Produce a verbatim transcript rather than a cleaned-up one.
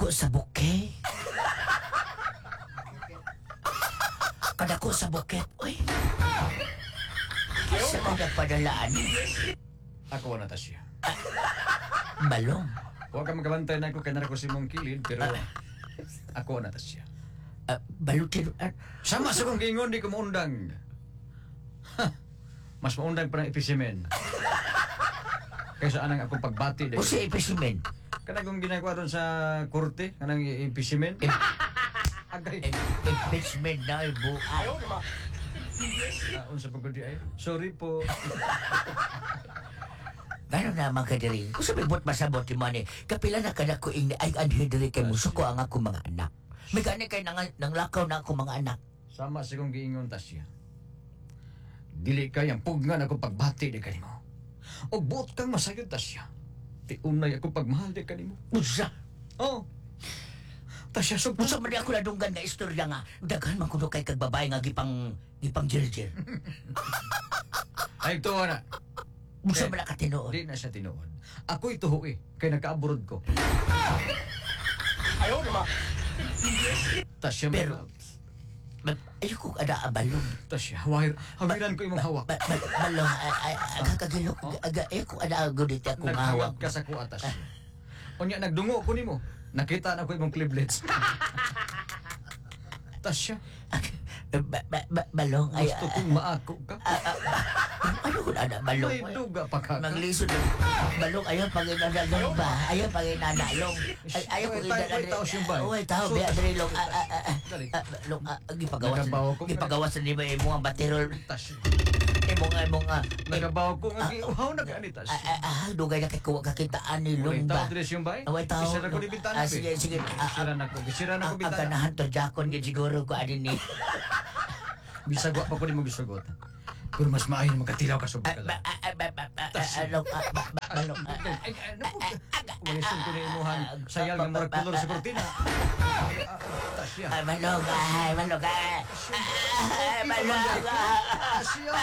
Kadako sa bouquet. Kadako sa bouquet. Uy. Sa kada padalaan. Ako na ta siya. Balong. Huwag ka magabantay na ako kay nara ko si mong kilid, pero ako na ta siya. Uh, balutin. Uh, Sama sa kong giingon, di ko maundang. Ha, mas maundang pa ng ipisimen. Kaysa anang akong pagbati. O si ipisimen. Kanang kong ginagawa doon sa korte, kanang ipisimen. Agay. Impeachment na ay buhay. Uh, unsa pa gud di ay? Sorry po. Gano'n naman ka diri. Kung sabi buot masabot ti money, kapila na kada ko ing ay anhi diri kay musuko ang ako mga anak. May gani kay nang, nang lakaw na ako mga anak. Sama sa kong giingon ta siya. Dili kay ang pugnan ako pagbati di kanimo. Og buot kang masayod ta siya. Tiunay ako pagmahal di kanimo. Unsa? Oh. Ta siya sugpo. Unsa man di ako nadunggan nga istorya nga daghan man kuno kay kag babae nga gipang gipang jirjir. Ay tuwa na. Unsa man na katinuod? Di na siya tinuod. Ako'y tuho eh, kay nagkaaburod ko. Ayaw naman. Ta siya Pero- Ma- Ayoko ada abalong. Ta siya, hawir, hawiran ko imong hawak. Ba, ba, balong ay ay kakagilok aga ayoko ada gudit ako nga hawak. Naghawak ka sa kuha ta siya. Unya nagdungo ko nimo. Nakita na ko imong cleavage. Ta siya, Ba, ba, ba, balong ay gusto kong maako ka. ano ko na balong. May duga pa ka. Maglisod na. Balong ayaw paginadalong ba? Ayaw paginadalong. Ay, ayaw ko Way tao- way tao siyang bay. Way tao So- biya diri long. Ah, ah, ah, ah. Dali. Ah, Long ah, gipagawas. Nagabaw ko. Gipagawas ni ba imong ang baterol. Ta siya. Imong imong ah, Nagabaw ko nga giuhaw na ka ni ta ah, siya. ah, ah, dugay na kay kuwa kakitaan ni Walay long tao ba. diri siyang bay. Way tao. Isara ko ni bintana. Ah, sige sige. Ah, ah, Sira na ko, sira na ko Ang bintana. ganahan to jakon gid siguro ko ani ni. Bisag wa pa ko nimo gisugot. Pero mas maayo na magkatilaw ka sa Ah, bukala. ba- ah, ah, ba- ba- ba- ah, long, ah, ba- ba- balong, ah, ah. Ay, ay, ano po? Walisod ko na imuhan sayal nga murag kolor sa kortina. Tasya. Ay, balong, ay, balong, ay, ay, balong, ah. Tasya.